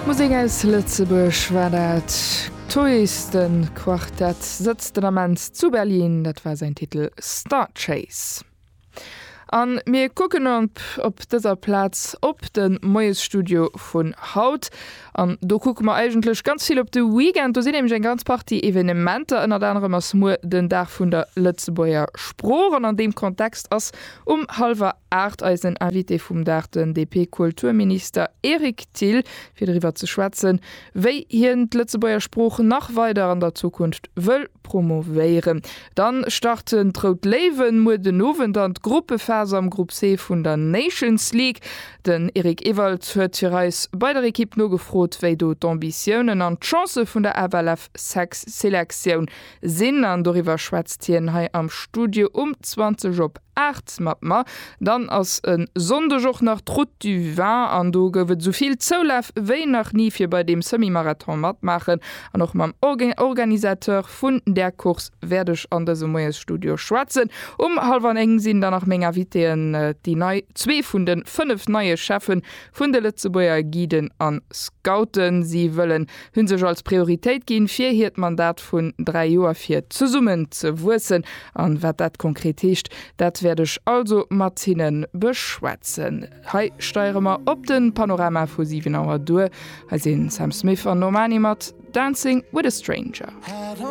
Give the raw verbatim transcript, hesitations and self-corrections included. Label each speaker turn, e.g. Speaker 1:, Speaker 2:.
Speaker 1: Musek aus Lëtzebuerg war dat Toys de Quartett sëtzt den Ament zu Berlin, dat war säin Titel Star Chase. An mir kucken op, op dëser Plaz op de Moiesstudio vun haut. An do kucke mer eigentlech ganz vill op de Weekend, do sinn nämlech eng ganz Partie Evenementer ënnert anerem ass muer den Dag vun der Lëtzebuerger Sprooch an an deem Kontext ass um hallwer aacht eisen Invité vum Dag den DP-Kulturminister Eric Thill fir doriwwer ze schwätzen, wéi hien d'Lëtzebuerger Sprooch nach weider an der Zukunft wëll promovéieren. Dann starten d'Rout Léiwen muer den Owend an d'Gruppephas am Grupp C vun der Nations League. Den Eric Ewald huet fir eis bei der Ekipp nogefrot, wéi do d'Ambitiounen an d'Chancë vun der FLF Selektioun sinn an doriwwer schwätzt hien hei am Studio um zwanzeg op aacht mat mer. Dann ass e Sonndeg och nach d'Route du Vin an do gouf et souvill Zoulaf wéi nach ni fir bei deem Semi-Marathon matmaachen an och mam Organisateur vun där Course wäert ech an dësem Moiesstudio schwätzen. Um hallwer néng sinn dann nach meng Invitéen déi nei zwee vun de fënnef neie Cheffen vun de Lëtzebuerger Guiden an Scouten. Si wëllen hu sech als Prioritéit ginn, fir hiert Mandat vun dräi Joer fir zesummen ze wuessen. An wat dat konkret heescht, dat wäert ech also mat hinne beschwätzen. Hei steiere mer op den Panorama vu siwen Auer duer. Hei sinn Sam Smith an Normani mat Dancing with a Stranger.